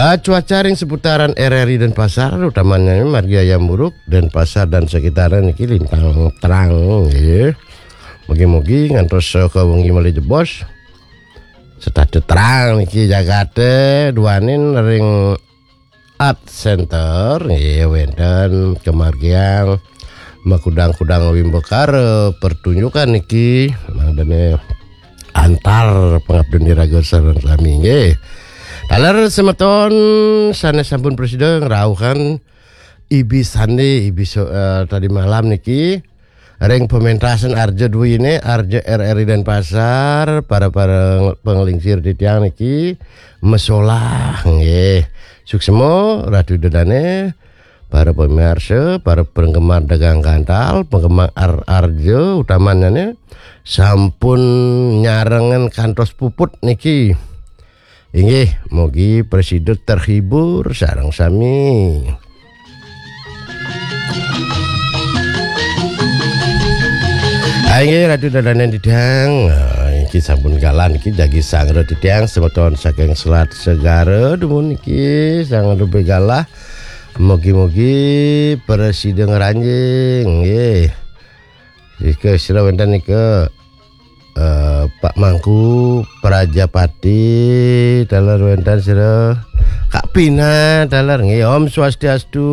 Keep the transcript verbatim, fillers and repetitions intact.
Ah, cuaca ring seputaran R R I Denpasar, utamanya margi Hayam Wuruk, Denpasar dan sekitarnya niki lintang terang, nggih. Mugi-mugi ngantos saha wengi malih jebos. Setata terang niki jagate duaning ring Art Center, nggih, wenten kemargiang makudang-kudang wimbakara pertunjukan niki, mangdane antar pangaptin iraga sareng sami, nggih. Taler semeton sane sampun prasida ngrauhan ibi sande, ibi so-, eh, tadi malam niki, ring pementasan Arja Dwine, Arja R R I Denpasar, para, para panglingsir titiang niki, mesolah, nggih. Suksma, Ratu Ida Dane, para pemirsa, para penggemar dagang gantal, penggemar ar-, Arja, utamanya nih, sampun nyarengan kantos puput niki. Inggih, mugi prasida terhibur sareng sami. Ah, inggih, Ratu Ida Dane titiang, ah, iki sampun galah niki jagi sangra titiang semeton saking Selat Segara dumun niki sang lebih galah. Mugi-mugi prasida ngranjing, nggih. Nika sira wenten nika, eh, Pak Mangku Prajapati, taler wenten sira. Kak Pina, taler nggih. Om Swastiastu.